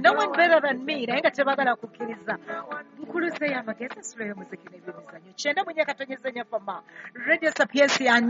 Nti no one better than me, naye nga tebaagala kukkiriza. Nkuluzeeyo amagezi, ensulo y'omuziki n'ebyemizannyo. 94.4 Fama Radio Sapientia,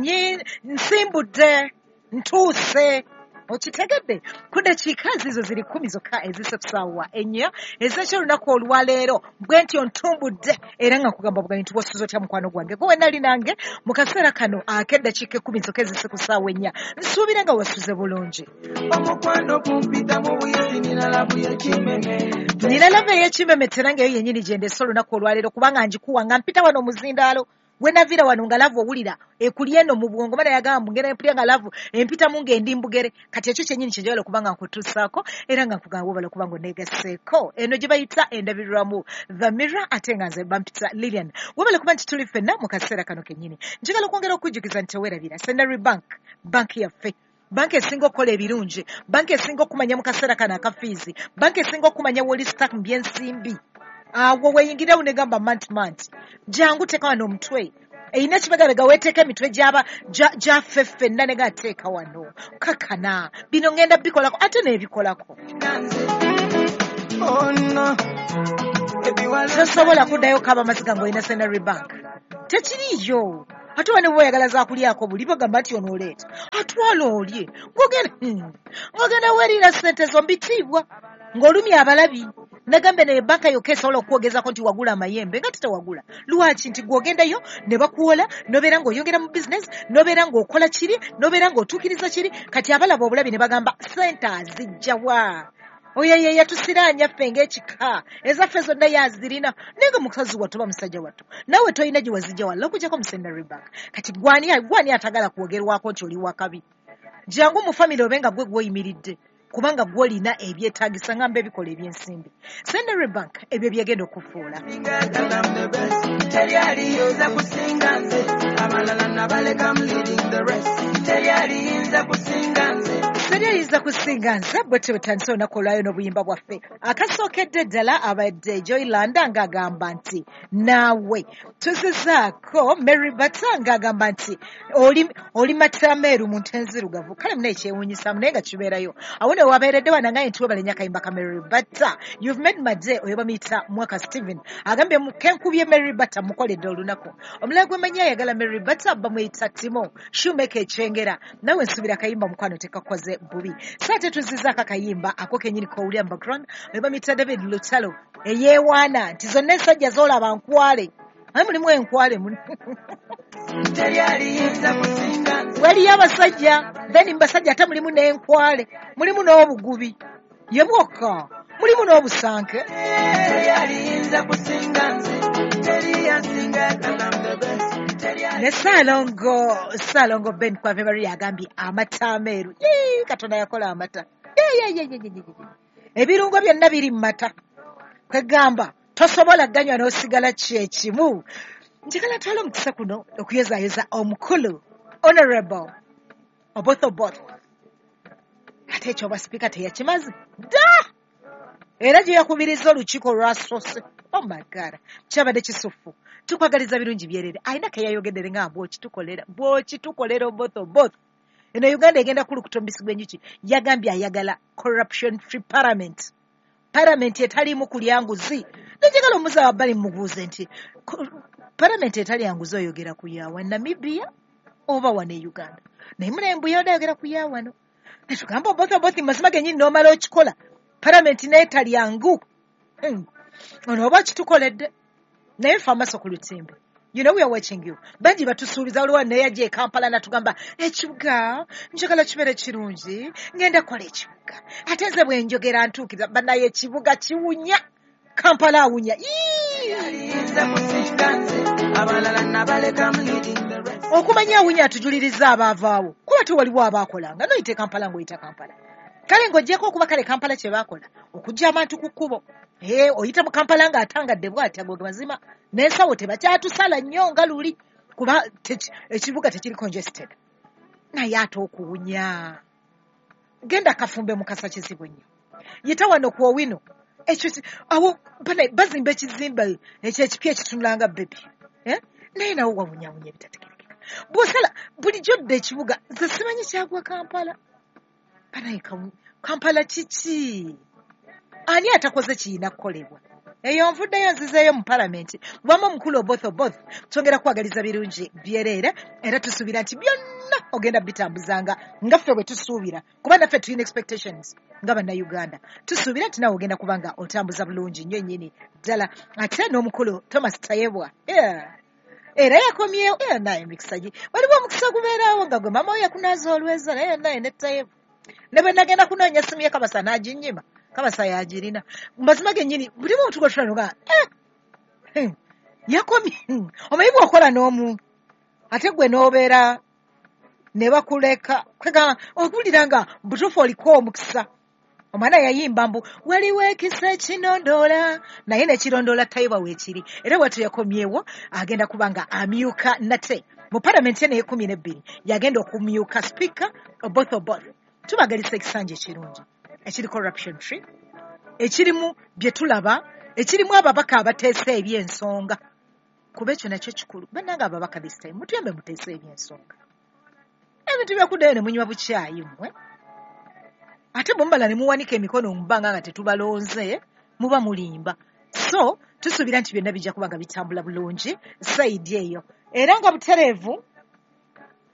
nsimbudde, ntuuse. Okitegedde ku dakiika zizo ziri 10 zokka ezise ku ssaawa 4 ez'ekyolunaku olwaleero. Bwe ntyo ntumbudde era nga nkugamba buganyi nti wasuze otya mukwano gwange gwe wenali nange mu kaseera kano ak'eddakiika 10 zokka ezise ku ssaawa 4. Nsuubira nga wasuze bulungi. Omukwano gumpita mu buyisi, nina love y'ekimeme. Nina love ey'ekimeme era ng'eyo yennyini gye ndeese olunaku olwaleero, kubanga ngikuwa nga mpita wano omuzindaalo. Wenaviira wano nga love owulira ekuli eno mu bwongo, mana yagamba ngenda mpulira nga love empitamu ng'endi mbugere. Kati ekyo kyennyini kye njagala okuba nga nkutuusaako era nga nkugamba webale okuba nga oneegasseeko. Eno gye bayita endabirwamu The Mirror, ate nga nze bampita Lilian. Webale kuba nti tuli ffenna mu kaseera kano kennyini. Njagala okwongera okujjukiza nti teweerabira Centenary Bank, banki yaffe, banki esinga okukola ebirungi, banki esinga okumanya mu kaseera kano akafiizi, banki esinga okumanya woli stuck mu by'ensimbi. Awo weeyingirawo negamba manti jangu teeka wano omutwe, erina ekibegabega weeteeka emitwe gyaffe ffenna ne gateeka wano kakana bino ngenda bikolako ate n'ebikolako. Oh no. Tosobola kuddayo kaba amaziga ng'olina Centenary Bank, tekiriiyo. Ate wane bw'oyagala zaakulyako buli bagamba nti onooleeta atwala olye ng'ogenda weeriira ssente zo mbitiibwa ng'olumya abalabi. Nagambe naye banka yokka esobola okwogezako nti wagula amayembe nga tetewagula. Lwaki? Nti gw'ogendayo ne bakuwola n'obeera ng'oyongera mu bizinesi, n'obeera ng'okola kiri, n'obeera ng'otuukiriza kiri. Kati abalaba obulabi ne bagamba ssente azijja wa? Oyo ye yatusiraanya ffe ng'ekika, ezaffe zonna yazirina. Naye nga mukazi wattu oba musajja wattu naawe tolina gye wazijja walla okuggyako mu Centenary Bank. Kati gwani atagala kwogerwako nti oli wakabi? Jangu mu famire obe nga gwe gw'oyimiridde, kubanga gw'olina ebyetaagisa ngamba ebikola ebyensimbi. Centenary Bank ebyo byegenda okufuula. Teri aliyinza kusinga nze, abalala nabaleka, I'm leading the rest. Teri aliyinza kusinga nze. Teri aliyinza kusinga nze. Bwe tutandise olunaku olwayo n'obuyimba bwaffe. Akasookedde ddala abadde Joylanda ng'agamba nti naawe. Tuzizaako Mary Bata ng'agamba nti oli mata ameeru mu nte enzirugavu. Kale munaye kyewuunyisaamu naye nga kibeerayo. Awo ne wabeeredde wano nga nti webale nnyo akayimba ka Mary Bata. You've made my day. Oyo bamuyita Mwaka Steven. Agambye kenkubye Mary Bata mukoledde olunaku. Omulala gwe mmanyi ayagala Mary Bata bamuyita Timo Shoemaker Ekyengera. Nawe nsuubira akayimba mukwano tekakoze bubi. So ate tuzizzaako akayimba ako kennyini k'owulira mu background. Oyo bamuyita David Lutalo eyeewaana nti zonna ensajja z'olaba nkwale. Aye mulimu enkwale Teri aliyinza kusinga nze. Waliyo abasajja, then mu basajja ate mulimu n'enkwale, mulimu n'obugubi ye bwokka, mulimu n'obusanke. Teri aliyinza kusinga nze. Teri yasinga 'cause I'm the best. Teri Ne Saalongo Ben Kwave Maria agambye amata ameeru. Yee, Katonda yakola amata. Yee, yee, yee, yee, yee, yee. Ebirungo byonna biri mu mata. Kwegamba tosobola ganywa n'osigala kyekimu. Njagala twala omukisa kuno okuyozaayoza omukulu Honorable Oboth Oboth. Ate ekyo obwa sipiika teyakimaze dda, era gye yakubiriza olukiiko olwasoose. Oh my God, kyabadde kisufu. Tukwagaliza birungi byerere. Alina ke yayogeddere nga bw'okitukolera, bw'okitukolera Oboth Oboth. Eno Uganda egenda kulukuta omubisi gw'enjuki. Yagambye ayagala corruption free parliament. Parliament etaliimu kulya nguzi. Nenjagala omuza wabbali mubuuze nti parliament etalya nguzi oyogera ku yawa Namibia oba wano e Uganda? Naye mulembe yodde ayogera ku ya wano. Ne tugamba Oboth Oboth mazima gennyini n'omala okikola. Parliament n'etalya ngu. Ono oba kitukoledde. Naye ffe amaaso ku lutimbe. You know we are watching you. Bangi batusuubiza, waliwo neyajja e Kampala n'atugamba ekibuga njagala kibeere kirungi, ngenda kukola ekibuga. Ate nze bwe njogera ntuukiriza, bannaye ekibuga kiwunya. Kampala awunya. Yee! Aliyinza kusinga nze. Abalala nabaleka, I'm leading the rest. Okumanya awunya atujuliriza abaavaawo, kuba tewaliwo abaakolanga. N'oyita e Kampala ng'oyita Kampala. Kale ng'oggyeko okuba kale Kampala kye baakola okuggya abantu ku kkubo. Oyita mu Kampala ng'atangadde bw'ati ago mazima n'ensawo tebakyatusala nnyo nga luli, kuba ekibuga tekiri congested. Naye ate okuwunya. Genda kafumbe Mukasa kizibu nnyo. Yita wano ku Owino. Ekyo awo bazimba ekizimbe ekyo ekipya ekitunula nga bebi. Naye nawo wawunyawunya ebitategeerekeka. Bw'osala bulijjo dda ekibuga, nze simanyi kyagwa Kampala. Banaye Kampala kiki? Ani atakoze kiyina kukolebwa? Eyo nvuddeyo nzizeeyo mu palamenti. Wamma omukulu Oboth Oboth, twongera kukwagaliza birungi byereere, era tusuubira nti byonna ogenda bitambuzanga nga ffe bwe tusuubira, kuba naffe tulina expectations nga Bannayuganda. Tusuubira nti naawe ogenda kuba nga otambuza bulungi nnyo nnyini ddala. Ate n'omukulu Thomas Tayebwa, yeah. Era yakomyewo, era naye emikisa gi waliwo omukisa ogubeerawo nga gwe maama we yakunaaza olweza, naye naye ne Tayebwa ne bwe nagenda kunoonya essimu ye Kabasa n'aginnyima, Kabasa yagirina. Mazima gennyini buli muntu gwe tutula nga yakomye. Omanyi bw'okola n'omu ate gwe n'obeera ne bakuleka, kwegamba okuwulira nga butuufu oliko omukisa. Omwana yayimba mbu waliwo ekisa ekinondoola, naye nekirondoola Tayebwa weekiri. Era bwatyo yakomyewo, agenda kuba nga amyuka nate mu palamenti eno ey'ekumi n'ebbiri, yagenda okumyuka Sipiika Oboth Oboth. Tubagalisa ekisanja ekirungi ekiri corruption free, ekirimu bye tulaba, ekirimu ababaka abateesa eby'ensonga, kuba ekyo nakyo kikulu. Bannange ababaka, this time mutuyambe muteese eby'ensonga. Ebintu byakuddayo ne munywa bukyayi mmwe, ate bwe mubala ne muwanika emikono mu bbanga nga tetubalonze, muba mulimba. So tusuubira nti byonna bijja kuba nga bitambula bulungi side eyo, era nga butereevu.